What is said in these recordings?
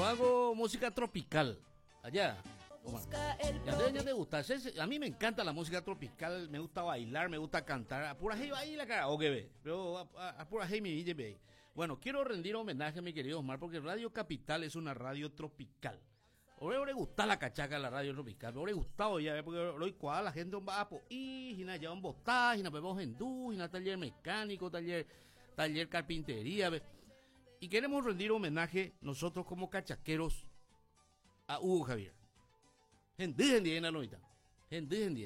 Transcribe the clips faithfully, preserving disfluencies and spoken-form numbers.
Hago música tropical. Allá. Ya te, te gusta. A mí me encanta la música tropical, me gusta bailar, me gusta cantar. A pura ahí la cara, ve. Pero a, a, pura mi ve. Bueno, quiero rendir homenaje a mi querido Omar porque Radio Capital es una radio tropical. Ore le gusta la cachaca la radio tropical, ore gustado ya, porque hoy cuadra la gente va a y hina ya un botá, hina bebemos hendú, hina taller mecánico, taller taller carpintería, ve. Y queremos rendir homenaje nosotros como cachaqueros a Hugo Javier.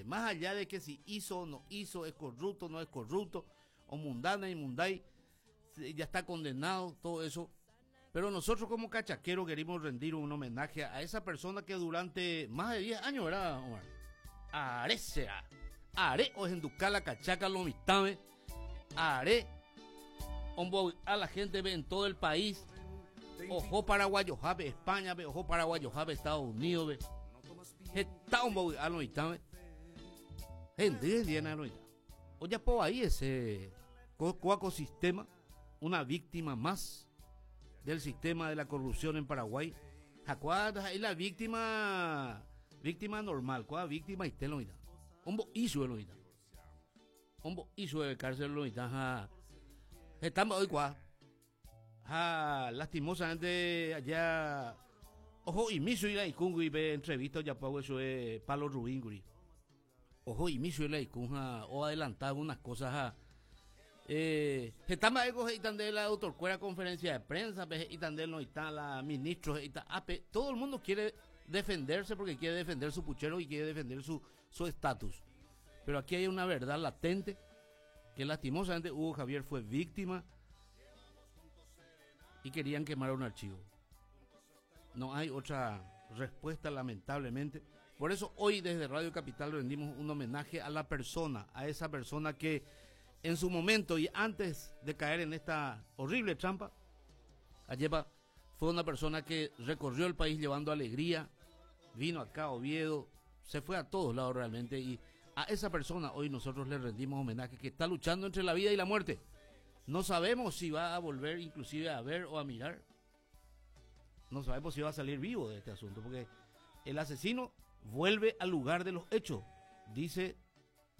Más allá de que si hizo o no hizo, es corrupto o no es corrupto, o mundana y munday, ya está condenado, todo eso. Pero nosotros como cachaqueros queremos rendir un homenaje a esa persona que durante más de diez años, ¿verdad, Omar? Are será. Are o la cachaca lo mitame. Are a la gente ve en todo el país. Ojo paraguayo, jabe España, ve, ojo paraguayo, jabe Estados Unidos, ve. Está un a lo mitame. Gente, lo Oye, po ahí ese ecosistema, una víctima más del sistema de la corrupción en Paraguay. Jacuá es la víctima, víctima normal, cuál víctima y lo mitad. Hombo hizo lo mitad. Hombo hizo de cárcel lo mitad. Estamos hoy cuá. Ja, lastimosamente allá. Ojo, y miso y la y ve entrevista ya pago eso es Palo Rubín guri. Ojo, y miso y la icunja o adelantado unas cosas ja. Eh, estamos ahí de la doctor Cuera conferencia de prensa, y de no está la ministro, y todo el mundo quiere defenderse porque quiere defender su puchero y quiere defender su su estatus. Pero aquí hay una verdad latente que lastimosamente Hugo Javier fue víctima y querían quemar un archivo. No hay otra respuesta, lamentablemente. Por eso hoy desde Radio Capital rendimos un homenaje a la persona, a esa persona que en su momento y antes de caer en esta horrible trampa, Ayepa fue una persona que recorrió el país llevando alegría, vino acá a Oviedo, se fue a todos lados realmente, y a esa persona hoy nosotros le rendimos homenaje, que está luchando entre la vida y la muerte. No sabemos si va a volver inclusive a ver o a mirar. No sabemos si va a salir vivo de este asunto, porque el asesino vuelve al lugar de los hechos, dice